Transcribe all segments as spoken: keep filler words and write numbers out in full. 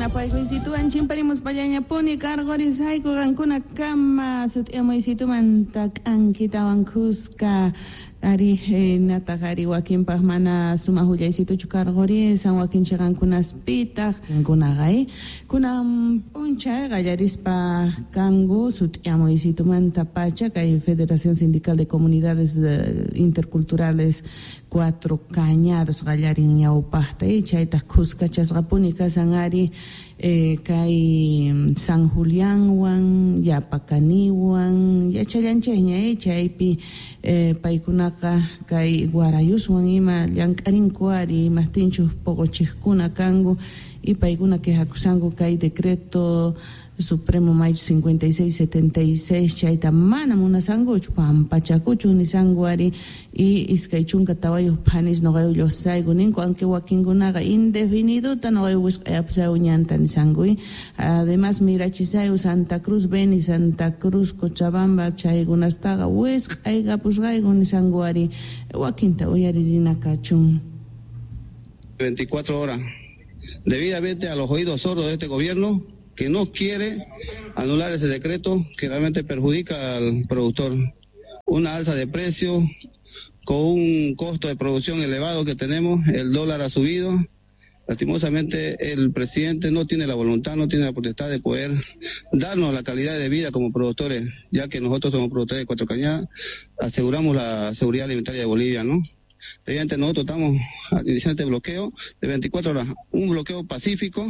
Napaykuycituwan chimparimuspallañapuni karqurisayku qankuna kama sut'iyamuysitumanta k'ankitawan khuska ari nataq ari wakinpaq mana sumaq willaycituchu karqurisan wakin chiqankunaspitaq qankunaqa kunan p'unchay qallarispa kanku sut'iyamuysitumanta pacha kay Federación Sindical de Comunidades Interculturales Cuatro Cañadas qallarin ñawpaqta chaytaq khuskachasqapuni kasan ari kay San Julianwan Yapacaniwan yachallanchayña chaypi paykunaqa kay Guarayuswan ima llank'arinku ari imaqtinchus poqochiqkuna kanku y paykuna quejakusanku kay decreto supremo mayo cincuenta y seis setenta y seis chayta mana munasankuchu pampachakuchu nisanku ari y iskay chunka tawayuq phanis noqayu lluqsayku ninku aunque wakinkunaqa indefiniduta noqayu wisq'ayapusayku ñanta nisanku además mirachisayku Santa Cruz Beni Santa Cruz Cochabamba chaykunastaqa wisq'aykapusqayku nisanku ari wakinta uyaririna kachun. veinticuatro horas debidamente a los oídos sordos de este gobierno que no quiere anular ese decreto que realmente perjudica al productor. Una alza de precio con un costo de producción elevado que tenemos, el dólar ha subido. Lastimosamente el presidente no tiene la voluntad, no tiene la potestad de poder darnos la calidad de vida como productores, ya que nosotros somos productores de Cuatro Cañadas, aseguramos la seguridad alimentaria de Bolivia, ¿no? Evidentemente nosotros estamos iniciando este bloqueo de veinticuatro horas, un bloqueo pacífico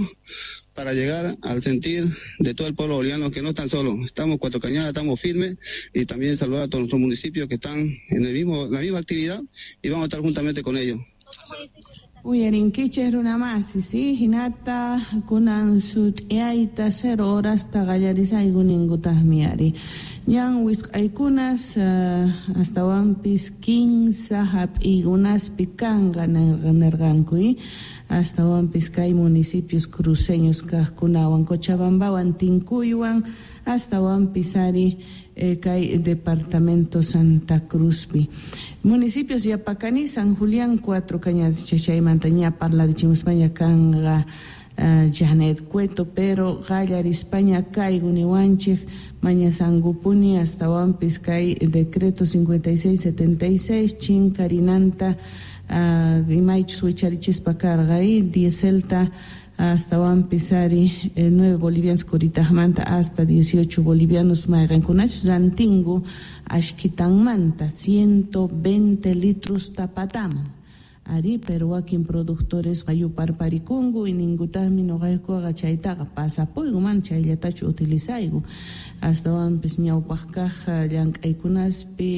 para llegar al sentir de todo el pueblo boliviano que no están solos, estamos Cuatro Cañadas, estamos firmes y también saludar a todos nuestros municipios que están en el mismo, la misma actividad y vamos a estar juntamente con ellos. Uyarinkichik runamasi, sí, hinata kunan sut'iyayta cero horasta qallarisayku ninkutaqmi ari. Ñan wisq'aykunas uh, astawanpis kinsa hap'iykunaspi kanqa nirqanku astawanpis kay municipios cruceños kaqkunawan Cochabambawan Tinkuywan astawanpis ari eh, kay departamento Santa Cruzpi. Municipios Yapacaní, San Julián, Cuatro Cañadas, chaymanta ña parlarichimuspaña kanqa uh, Janet Cueto, pero qallarispaña kayku niwanchik mañasankupuni astawanpis kay decreto cincuenta y seis setenta y seis chinkarinanta uh, imaychus wicharichispa karqa y dieselta astawanpis ari eh, nueve bolivianos curitajmanta hasta dieciocho bolivianos mayqankunachus rantingu ashkitanmanta ciento veinte litros tapataman ari, pero wakin productores qayuparparikunku y ninkutaqmi nuqaykuqa chaytaqa pasapuyku mana chayllatachu utilizayku astawanpis ñawpaq kaq llank'aykunaspi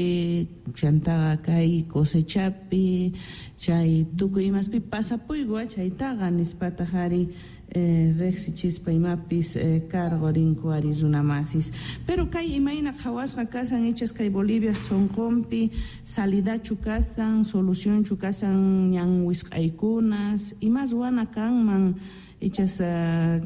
chantaqa kay cosechapi chay tukuy imaspi pasapuyku chaytaqa nispataq ari eh, riqsichispa imapis eh, cargo rinku ari runamasis. Pero kay imayna qhawasqa kasan ichas kay Bolivia sunqunpi salidachu kasan solucionchu kasan ñan wisq'aykunas ima ruwana kanman ichas uh,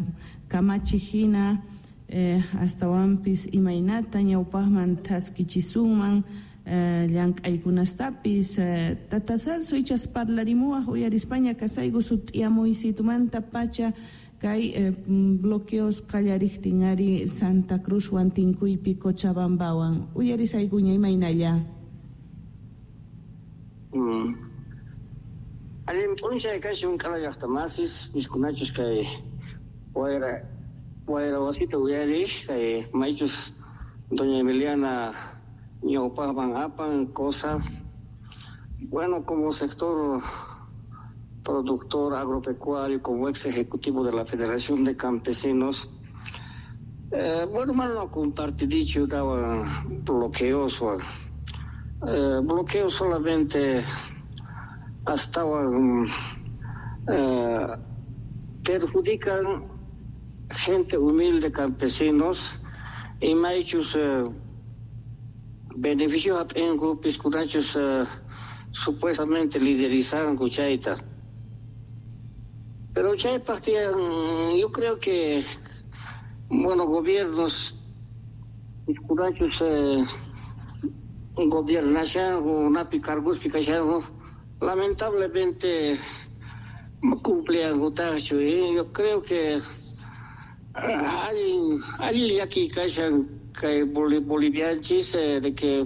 kamachi hina eh, astawanpis imaynata ñawpaqman thaskichisunman eh, llank'aykunastapis eh, tata Celso ichas parlarimuwaq uyarispaña kasayku sut'iyamuysitumanta pacha kay eh, bloqueos qallariqtin ari Santa Cruzwan Tinkuypi Cochabambawan uyarisaykuña imaynalla. Mm. Allin p'unchay kashun k'ala llaqtamasis piskunachus kay wayra wayra wasita uyariq kay maychus doña Emiliana ñawpaqman apan cosa. Bueno, como sector productor agropecuario, como ex ejecutivo de la Federación de Campesinos, eh, bueno, mano compartidicho daba bloqueos, eh, bloqueos solamente hasta eh, perjudican gente humilde, campesinos, y maychus eh, beneficios hap'inku piskunachus eh, supuestamente liderizan chayta. Pero chaypaq tiyan, yo creo que, bueno, gobiernos piskunachus eh, gobernashanku napi cargospi kashanku lamentablemente cumpliankutaqchu. ¿Eh? Yo creo que Allin allin llaki kashan kay bolivianchis de que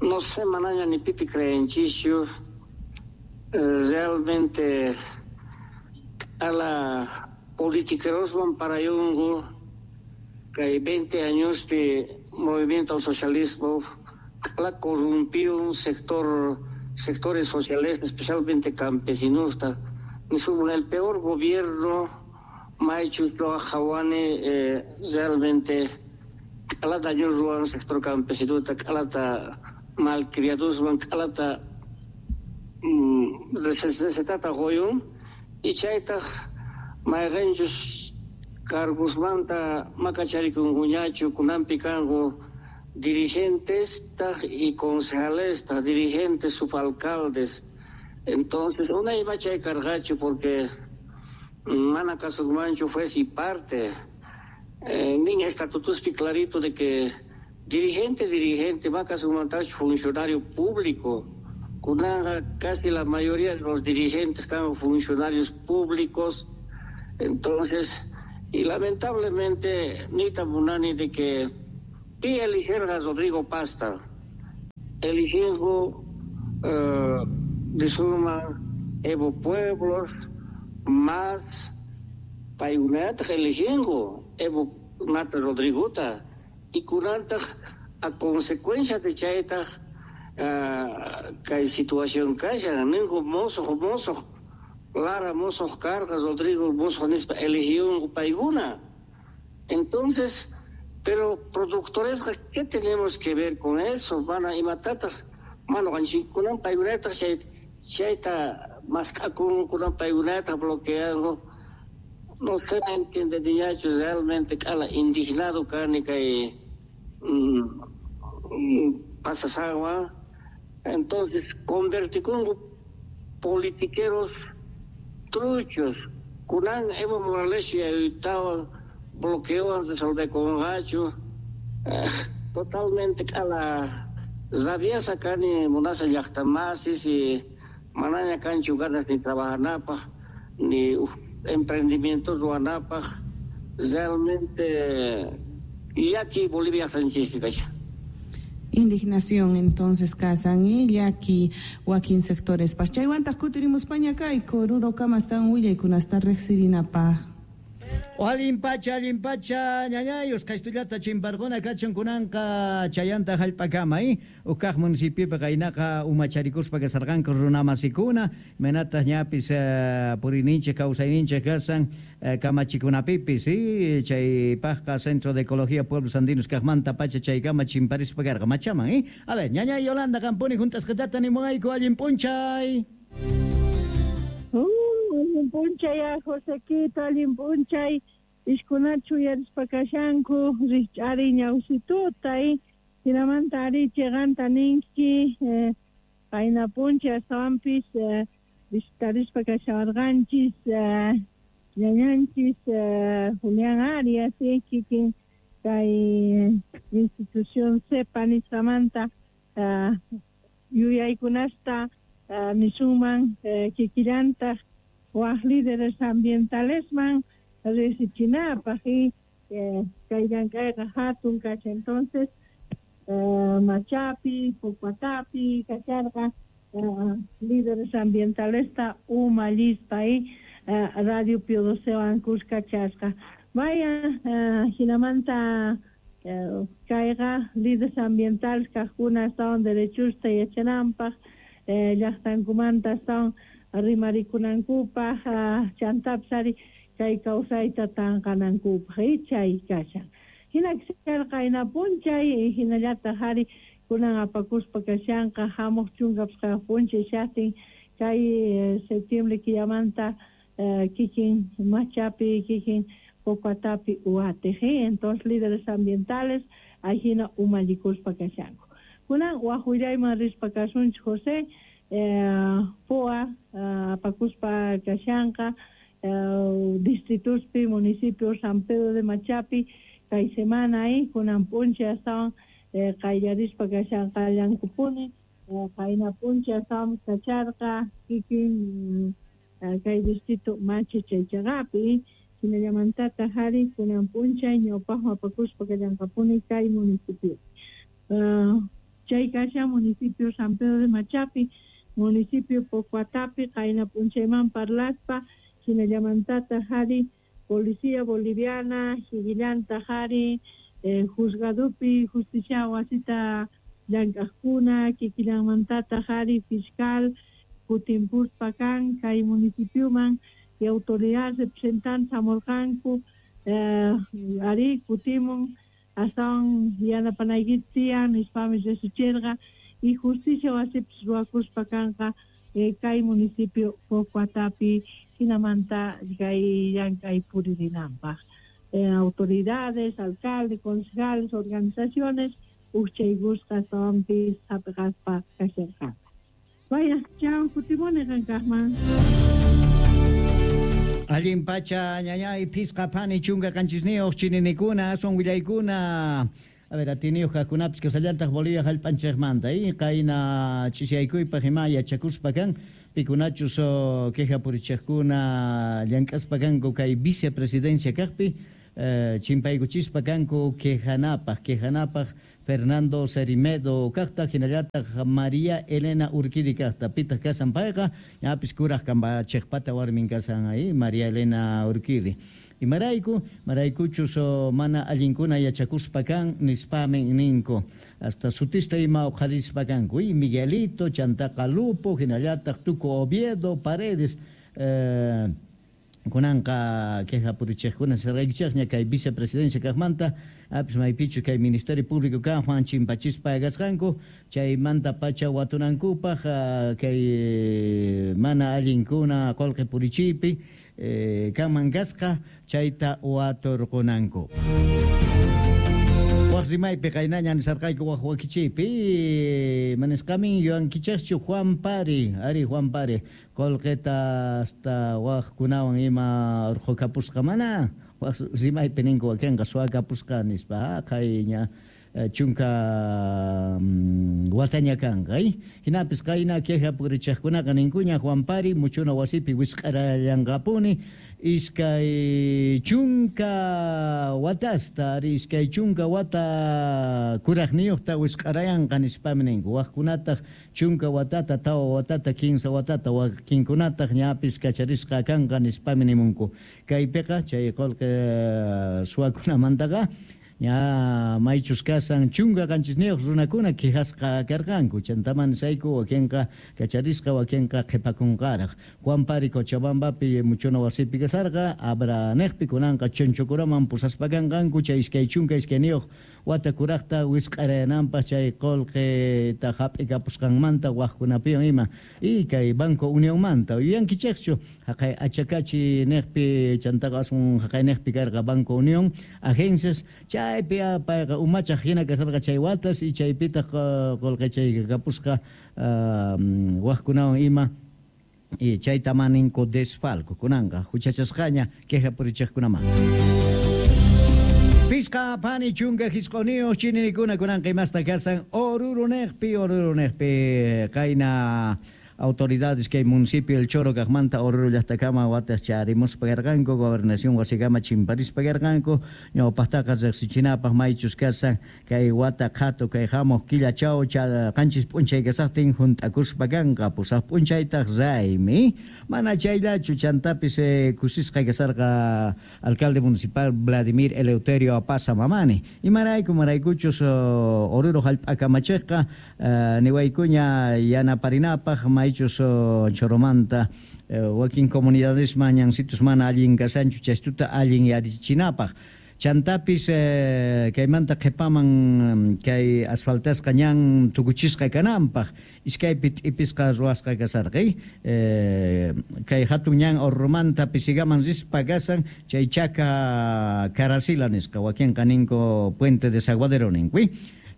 no sé manaña ni pipi creenchischu realmente a la politiqueroswan parayungu kay veinte años de movimiento al socialismo la corrompió un sector sectores sociales, especialmente campesinos, el peor gobierno Maichu Jawane eh, realmente calata ruan sector campesino calata malcriados van calata recetata goyun y chaytaj mayqanchus cargosmanta makacharikunkuñachu kunanpi kanku dirigentes y concejales, dirigentes, subalcaldes. Entonces, una iba chay cargacho porque mana kasunmanchu fue si parte. Eh, nin estatutos clarito de que dirigente, dirigente, makasunmantachu funcionario público. Kunanga casi la mayoría de los dirigentes eran funcionarios públicos. Entonces, y lamentablemente, ni tamunani de que pi eligieron a Rodrigo Pasta, eligieron uh, de suma Evo Pueblos, más payunata eligieron Evo Nata Rodrigota, y kunanta a consecuencia de chayta uh, kay situación kashan, ningo mozo, mozo, Lara mozo carga, Rodrigo mozo nispa eligieron payguna. Entonces, pero productores, ¿qué tenemos que ver con eso? Van a imatatas, mano, kunan paygunata, chayta, más kunan paygunata bloqueando. No se me entiende, niñacho, realmente, cala, indignado, cani, que pasas agua. Entonces, convertí con politiqueros truchos. Kunan Evo Morales y estaba bloqueo resolver con gacho eh, totalmente a la kani munasa llaqtamasis y manaña kanchu ganas ni trabajanapaj ni uf, emprendimientos ruanapaj realmente y aquí Bolivia Sánchez. Indignación entonces kasan y llaki wakin sectores paj chaywantaq kutirimuspaña kayku rurokama astawan willaykunasta riqsirinapaj. Allin pacha, allin pacha, ñañayus, kaystullata chimparquna kachun kunanqa chayanta hallp'akama, eh? Uqkaq municipiopi qaynaqa umacharikuspa kasarqanku runamasikuna, imaynataq ñapis uh, puriyninchik kawsayninchik kasan uh, kamachikunapipis, eh? Chaypaqqa Centro de Ecología Pueblos Andinos kaqmanta pacha chaykama chimparispa karqa machaman, eh? A ver, ñañay Yolanda qampuni juntasqatata nimuwayku allin p'unchay. Allin p'unchay, Josequito, allin p'unchay, ishkunachu uyarispa kashanku, rikch'ari ñawsituta, hinamanta ari chiqanta ninki, qayna p'unchay astawanpis visitarispa kashawarqanchis, ñañanchis Julián Arias, kikin kay institución CEPA nisqamanta yuyaykunasta nisunman kikillantaq waj líderes ambientalesman riqsichinapaq y kay llank'ayqa hatun kasha. Entonces Machapi, Pucuatapi kasharqa líderes ambientalesta umallispa y Radio Pío Docewan kuskachasqa. Vaya hinamanta kayqa líderes ambientales kaqkuna astawan derechusta yachananpaq llaqtankumanta astawan rimarikunankupaq chantapis ari kay kawsayta tanqanankupaq chay kashan. Hina kasharqa qayna p'unchay hinallataq ari kunan apakuspa kashanqa hamuq chunka pichqayuq p'unchay shaqtin kay septiembre killamanta kikin Machapi, kikin Pocuatapi uatiq. Entonces líderes ambientales ahina umallikuspa kashanku. Kunan waj willayman rispa kasunchik José, Eh, P O A apakuspa kashanqa eh, distrituspi municipio San Pedro de Machapi kay semana ahí kunan p'unchay astawan eh, qayllarispa kashanqallankupuni qayna p'unchay astawan kacharqa kikin kay distrito Machi chaychaqapi Hinallamantata hari kunan p'unchay ñawpaqman apakuspa kallanqapuni kay municipio. Uh, chay kashan municipio San Pedro de Machapi, municipio Pocuatapi, qayna p'unchayman parlaspa, hinallamantata hari policía boliviana, higillanta hari, eh, juzgadupi, justicia wasita llank'aqkuna, kikillanmantata hari, fiscal, kutimpuspa kan kay municipioman y autoridad representante hamurqanku, eh, ari kutimun astawan yanapanaykita tiyan nispami risuchirqa y justicia wasipis ruwakuspa kanqa eh, kay municipio Pocuatapi hinamanta kay llank'ay puririnanpaq. Eh, autoridades, alcaldes, concejales, organizaciones uqchaykusqa astawanpis hap'iqaspa kasharqanku. Vaya, chao, kutimuni qankaqman. Allin pacha, ñañay, pisqa pani, chunka qanchisniyuq, chininikuna, aswan willaykuna. A ver, atiniyuq kaqkunapis kasallantaq Bolivia hallp'anchikmanta, y qayna ch'isyaykuypaq ima yachakuspa kan, pikunachus queja purichiqkuna llank'aspa kanku kay vicepresidencia kaqpi, eh, chimpaykuchispa kanku quejanapaq, quejanapaq Fernando Cerimedo kaqta, hinallataq María Elena Urquidi kaqta, pitaq kasan payqa, ñapis kuraq kambachiqpata warmin kasan ahí, María Elena Urquidi. Imarayku, maraykuchus mana allinkuna yachakuspa kan nispamin ninku, hasta sutista ima uqharispa kanku, y Miguelito, Chantaqa Lupo, hinallataq Tuco Oviedo, Paredes, eh, kunanqa queja purichiqkuna sirqaykichikña kay vicepresidencia kaqmanta, apis maypichu kay Ministerio Público kan Juan chimpachispa kasqanku, chaymanta pacha watunankupaq kay mana allinkuna qullqi purichiypi eh, kanman kasqa chayta waturqunanku. Waq rimaypi qaynaña nisarqayku waq wakichiypi manisqamin yuyankichikchu Juan Pari, ari Juan Pari qullqita hasta waqkunawan ima urqukapusqa mana waq rimaypi ninku wakinqa suwakapusqa nispa qayña chunka wataña kanqa, hinapis qayna queja purichiqkunaqa ninkuña Juan Pari muchuna wasipi wisq'arallanqapuni iskay chunka watasta, ari iskay chunka wata kuraqniyuqta wisq'arayanqa nispami ninku, waqkunataq chunka watata, tawa watata, kinsa watata, wakinkunataq ñapis kacharisqa kanqa nispami nimunku. Kaypiqa chay qullqi suwakunamantaqa ña maychus kasan chunka qanchisniyuq runakuna quejasqa karqanku, chantaman nisayku wakinqa kacharisqa, wakinqa qhipakunqaraq. Juan Pari Cochabambapi muchuna wasipi kasarqa, Abra niqpi kunanqa Chonchocuraman pusaspa kanqanku chay iskay chunka iskayniyuq wata kuraqta wisq'arayananpaq chay qullqita hap'ikapusqanmanta waqkunapiwan ima, y kay Banco Unionmanta yuyankichikchu haqay Achakachi niqpi chantaqa aswan haqay niqpi karqa Banco Unión agencias chaypi payqa umachaq hina kasarqa chay watas y chaypitaq qullqi chay kapusqa waqkunawan ima y chayta maninku desfalco kunanqa huchachasqaña queja purichiqkunamanta. Pisqa pani chunka hisq'uniyuq chininikuna kunanqa imasta kasan Oruro niqpi, Oruro niqpi qayna autoridades kay municipio El Choro kaqmanta Oruro llaqtakama watas charimuspa karqanku, gobernación wasikama chimparispa karqanku, ñawpaqtaqa riqsichinapaq maychus kasan kay wata qhatu kay hamuq killachaw qanchis p'unchay kasaqtin hunt'akuspa kanqa, pusaq p'unchaytaq raymi, mana chayllachu chantapis eh, kusisqa kasarqa alcalde municipal Vladimir Eleuterio Apaza Mamani, imarayku maraykuchus Oruro hallp'akamachiqqa eh, niwaykuña yanaparinapaq maychus Choromanta wakin comunidades mañansitus mana allin kasanchu chaystuta allin yarichinapaq. Chantapis eh, kaymanta qhipaman kay asfaltasqa ñan tukuchisqa kananpaq iskaypi t'ipisqa ruwasqa kasarqay, eh, kay hatun ñan Orromanta Pisigaman rispa kasan chay chaka Karasila nisqa wakinqa ninku Puente de Desaguadero ninku.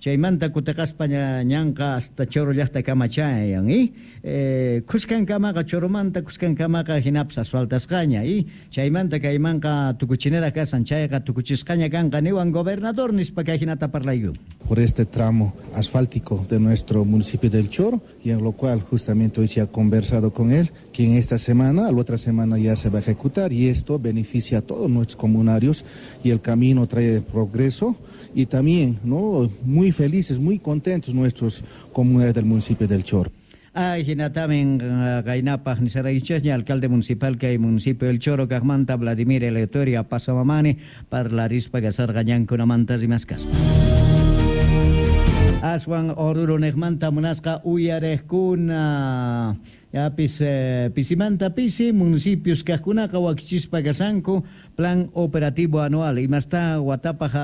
Chaymanta kutiqaspa ñanqa hasta Choro llaqtakama chayan y eh, kuskankamaqa Choromanta kuskankamaqa hinapis asfaltasqaña y chaymanta kaymanqa tukuchinera kasan chayqa tukuchisqaña kanqa niwan gobernador nispa kay hinata parlayku. Por este tramo asfáltico de nuestro municipio del Choro, y en lo cual justamente hoy se ha conversado con él, que en esta semana, la otra semana ya se va a ejecutar, y esto beneficia a todos nuestros comunarios y el camino trae progreso y también, ¿no?, muy felices, muy contentos nuestros comunarios del municipio del Choro. Ay, hinatamin qaynapaq nisaraychasña alcalde municipal kay municipio del Choro kaqmanta Vladimir Eleuterio Apaza Mamani parlarispa kasarqa ñankunamanta rimaskaspa. Aswan Oruro niqmanta munasqa uyariqkuna yapis eh, pisimanta pisi municipios kaqkunaqa wakichispa kasanku plan operativo anual imasta watapaq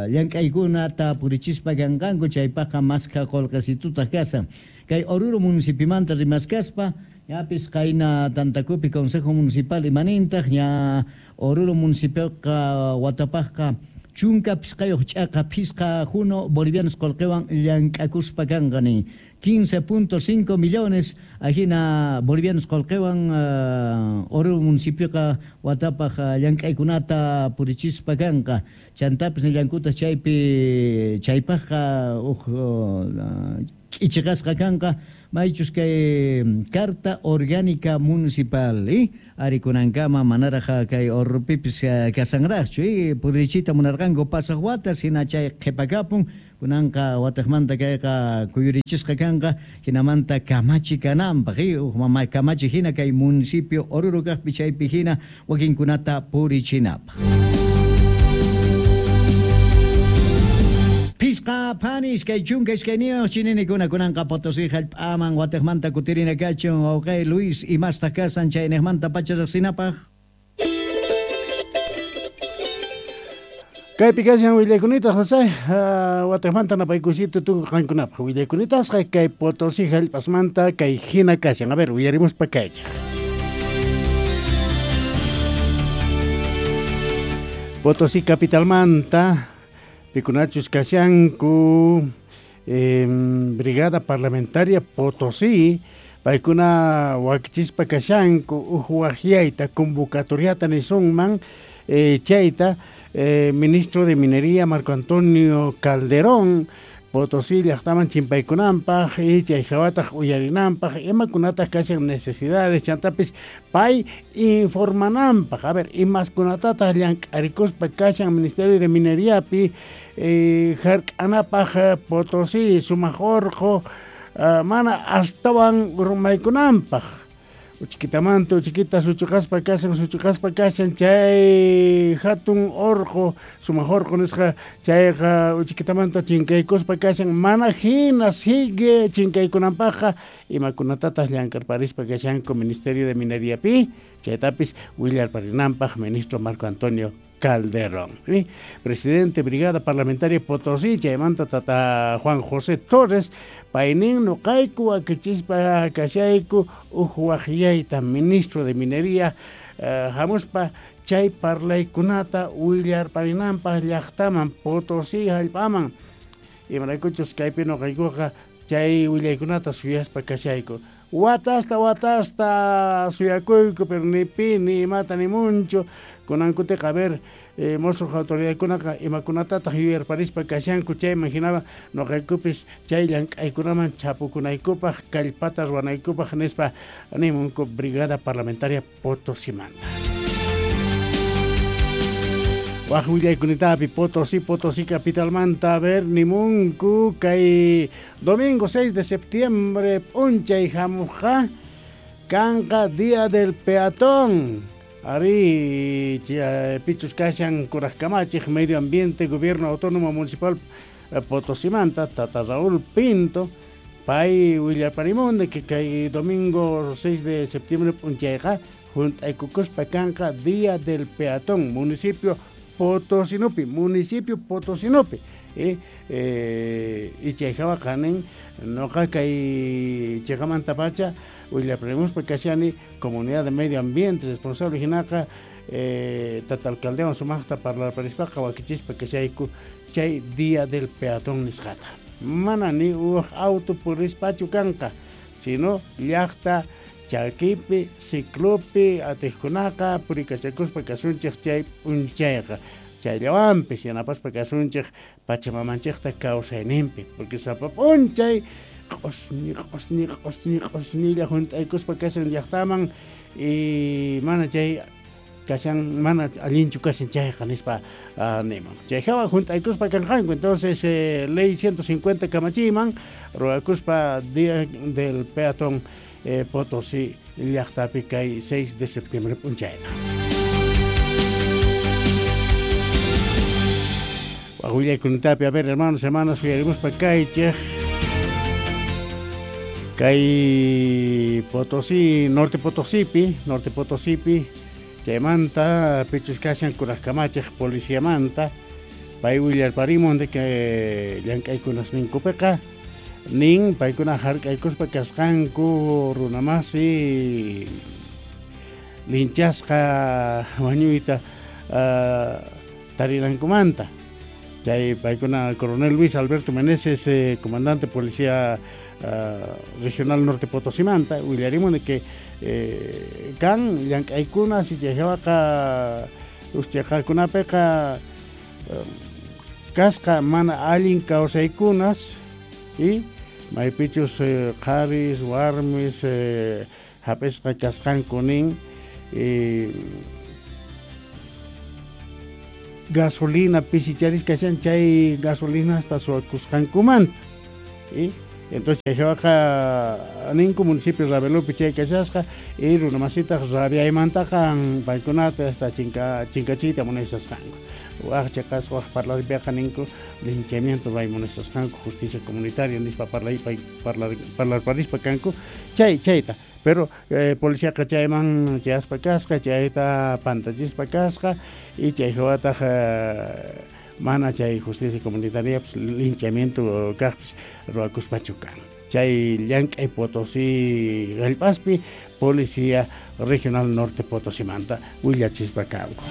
llank'aykunata purichispa kanqanku chaypaqqa maskha qullqisitutaq kasan kay Oruro municipimanta rimaskaspa yapis qayna tantakupi consejo municipal imanintaq ña Oruro municipioqa watapaqqa chunka pisqayuq ch'aqa phisqa juno bolivianos qullqiwan llank'akuspa kanqa nin quince punto cinco millones ajina bolivianos qullqiwan uh, Oruro municipioqa watapaq uh, llank'aykunata purichispa kanqa chantapis nillankuta chaypi chaypaqqa uq uh, k'ichiqasqa kanqa maychus kay carta orgánica municipal y arikunankama manaraq kay Orurupipis kasanraqchu y purichita munarqanku pasaq watas hina chay qhipakapun kunanqa wataqmanta kayqa kuyurichisqa kanqa hinamanta kamachi kananpaq y uq mama kamachi hina kay municipio Oruro kaqpi chaypi hina wakinkunata purichinapaq. Pisqa phani iskay chunka iskayniyuq chininikuna kunanqa Potosí hallp'aman wataqmanta kutirina kachun wawqay Luis imastaq kasan chayniqmanta pacha riqsinapaq. Kaypi kashan willaykunita José, uh, wataqmanta napaykusito tukuy qankunapaq willaykunitasqa kay Potosí hallp'asmanta kay hina kashan. A ver, uyarimuspa kaychaq. Potosí capitalmanta pikunachus kashanku eh, Brigada Parlamentaria Potosí paykuna wakichispa kashanku uj waqyayta convocatoriata nisunman eh, chayta eh, ministro de Minería Marco Antonio Calderón Potosí llaqtaman chimpaykunanpaq y chay hawataq uyarinanpaq imakunataq kashan necesidades chantapis pay informananpaq a ver imaskunatataq llank'arikuspa kashan Ministerio de Mineriapi eh, hark'anapaq Potosí sumaq urqu uh, mana astawan rumaykunanpaq uchikitamanta uchiquita suchuqaspa kashan suchuqaspa kashan chay hatun urqu sumaq urqu nisqa chayqa uchikitamanta chinkaykuspa kashan mana hina sigue chinkaykunanpaqqa imakunatataq llank'arparispa kashanku Ministerio de Mineriapi chaytapis willarparinanpaq ministro Marco Antonio Calderón, ¿sí? Presidente Brigada Parlamentaria Potosí, chaymanta tata Juan José Torres, paynin nuqayku akichispa kashayku uj waqyayta ministro de Minería uh, hamuspa chay parlaykunata willarparinanpaq llaqtaman Potosí hallp'aman imaraykuchus kaypi nuqaykuqa chay willaykunata suyaspa kashayku watasta watasta suyakuyku pero ni pi ni imata ni munchu kunankutiqa a ver eh, mosuq autoridadkunaqa imakunatataq yuyarparispa kashanku chayman hinama nuqaykupis chay llank'aykunaman chapukunaykupaq kallpata ruwanaykupaq nispa nimunku Brigada Parlamentaria Potosimanta. Waq willaykunitapi Potosí, Potosí capitalmanta a ver nimunku kay domingo seis de septiembre p'unchay hamuqqa kanqa Día del Peatón. Ari pichus kashan kuraq kamachiq Medio Ambiente Gobierno Autónomo Municipal Potosimanta tata Raúl Pinto pay willaparimun que kay domingo seis de septiembre p'unchayqa junt'aykukuspa kanqa Día del Peatón municipio Potosinopi municipio Potosinopi eh, eh, y chayhawa qanin noqa kay chayqamanta pacha willaprimuspa kashani comunidad de medio ambiente responsable hinaqa eh, tata alcaldewan sumaqta parlarparispaqa wakichispa kashayku chay día del peatón nisqata. Mana ni uj auto purispachu kanqa, sino llaqta chakipi, ciclopi, atiqkunaqa purikachakuspa kasunchik chay p'unchayqa. Chayllawanpis yanapaspa kasunchik pachamamanchikta kawsayninpi, porque sapa p'unchay q'usñi q'usñi q'usñi q'usñilla hunt'aykuspa kashan llaqtaman y mana chay kashan mana allinchu kashan chayqa nispa uh, niman. Chay hawa hunt'aykuspa kanqanku, entonces eh, ley ciento cincuenta kamachiman ruwakuspa día del peatón eh, Potosí llaqtapi kay seis de septiembre p'unchayta. Willaykunitapi, a ver, hermanos, hermanas, uyarimuspa kaychik kay Potosí, Norte Potosípi, Norte Potosípi, chaymanta pichus kashan kurajkamachik policiamanta, pay willarparimun de que llank'aykunas ninkupiqa, nin paykuna hark'aykuspa kasqanku runamasi linchasqa wañuyta uh, tarinankumanta. Chay paykuna coronel Luis Alberto Meneses, eh, comandante policía uh, regional Norte Potosimanta, willarimun de que eh, kan llank'aykunas y chayhawaqa uschaqakunapiqa um, kasqa mana allin kawsaykunas y maypichus eh, qharis warmis eh, hap'isqa kasqanku nin eh, gasolina pisicharis kashan chay gasolina hasta suwakusqankumanta. Y entonces chayhawaqa ninku municipio Ravelopi chay kashasqa y runamasitaq rabiaymantaqa paykunata hasta chinka chinkachiyta munashasqanku. Waj chaqasqa waj parlarpiqa ninku linchamiento ray munashasqanku justicia comunitaria nispa parlay parlar parlarparispa kanku chay chayta. Pero eh, policía chayman chayaspa kasqa chayta pantachispa kasqa y chayhawataq eh, mana chay justicia comunitaria pues, linchamiento kaqpis ruwakuspachu kan. Chay llank'ay Potosí hallp'aspi policía regional Norte Potosimanta willachispa kanku.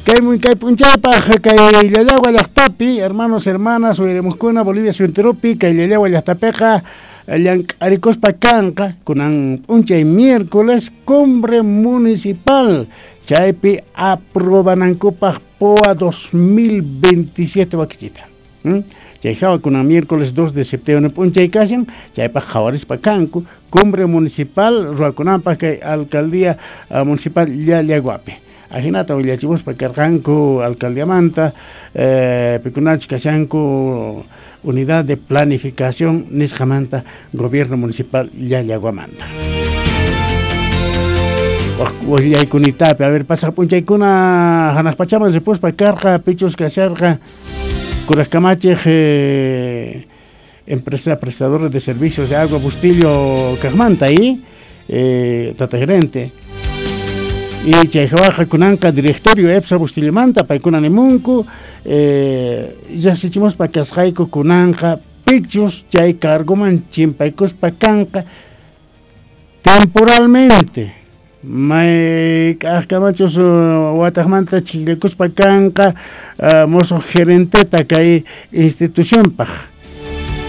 Kay kay p'unchaypaq kay Llallagua llaqtapi, hermanos, hermanas, uyarimuskuna Bolivia suyuntirupi kay Llallagua llaqtapiqa llank'arikuspa kanqa kunan p'unchay miércoles cumbre municipal chaypi aprobanankupaq P O A dos mil veintisiete wakichita. ¿Mm? Chay hawa kunan miércoles dos de septiembre p'unchay kashan chaypaq qhawarispa kanku cumbre municipal ruwakunanpaq kay alcaldía uh, municipal Llallaguapi. Ajinata willachimuspa karqanku alcaldiamanta eh, pikunach kashanku unidad de planificación nisqamanta gobierno municipal Llallaguamanta. Willaykunitapi, a ver, pasaq p'unchaykuna hanaq pachaman ripuspa karqa pichus kasharqa kurajkamachiq eh, empresa prestadora de servicios de agua Bustillo kaqmanta y eh, tata gerente. Y chayhawaqa kunanqa directorio EPSA Bustillamanta paykuna nimunku eh, yasichimuspa kasqayku kunanqa pichus chay cargoman chimpaykuspa kanqa temporalmente mayk'aqkamachus wataqmanta chikllakuspa kanqa uh, mozo gerenteta kay institucionpaq.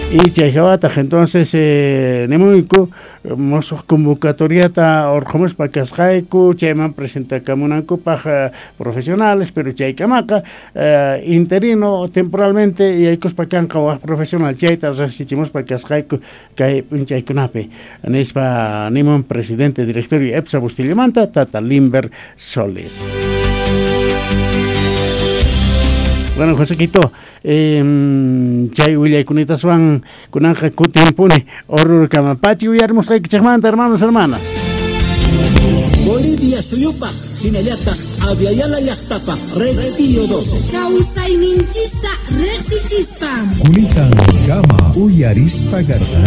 Y chayhawataq entonces eh, nimuyku mosuq convocatoriata urqumuspa kasqayku chayman presentakamunankupaq eh, profesionales pero chaykamaqa eh, interino temporalmente yaykuspa kanqa waq profesional chayta riqsichimuspa kasqayku kay p'unchaykunapi nispa nimun presidente directorio EPSA Bustillamanta tata Limber Solis. Bueno, José Quito, eh, chay willaykunitasuan kunanqa kutinpuni Orurkama pachi uyarimusqaykichikmanta, hermanos, hermanas. Bolivia suyupaq hinallataq Aviala llaqtapaq Red doce. Kawsayninchista riqsichispa. Kunitan kama uyarispa garqanki.